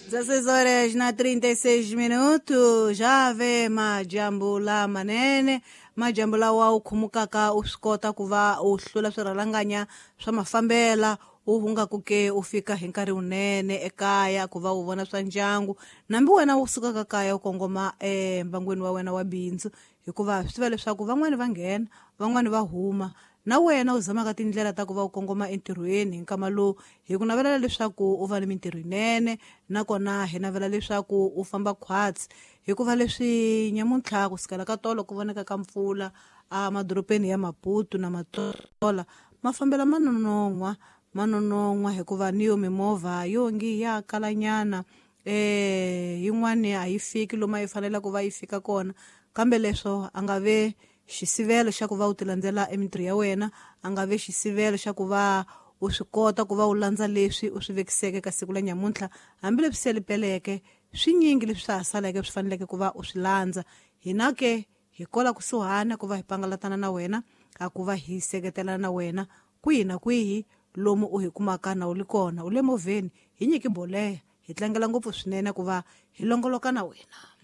16 horas na 36 minutos já ve majambu lamanene, majambu lawa u khumukaka u swi kota ku va u hlula swirhalanganya swa mafambela, u hungaku ke u fika hi nkarhi wunene ekaya ku va u vona swa ndyangu, nambi wena u sukaka kaya u kongoma embangwini wa wena wa bindzu, hikuva swi tiva leswaku van'wani va nghena, van'wani va huma, na wena u zamaka tindlela ta ku va u kongoma entirhweni hi nkama lowu. Hi ku navelela leswaku u va ni mintirho yinene, nakona hi navela leswaku u famba khwatsi, hikuva leswi nyamuntlha ku sukela ka tolo ku voneka ka mpfula emadorobeni ya Maputo na Matola, mafambelo ma nonon'hwa, ma nonon'hwa, hikuva ni yo mimovha yo ngi ya kalanyana, yin'wani a yi fiki lomu a yi fanele ku va yi fika kona. Kambe leswo a nga ve xisivelo xa ku va u ti landzela emintirho ya wena, a nga ve xisivelo xa ku va u swi kota ku va u landza leswi u swi vekiseke ka siku la nyamuntlha, hambileswi se lipeleke swinyingi leswi swa ha saleke swi faneleke ku va u swi landza. Hina ke hi kola kusuhana ku va hi pangalatana na wena, a ku va hi seketelana na wena kwihi na kwihi lomu u hi kumaka na u li kona, u le movheni, hi nyiki boleya, hi tlangela ngopfu swinene ku va hi longoloka na wena.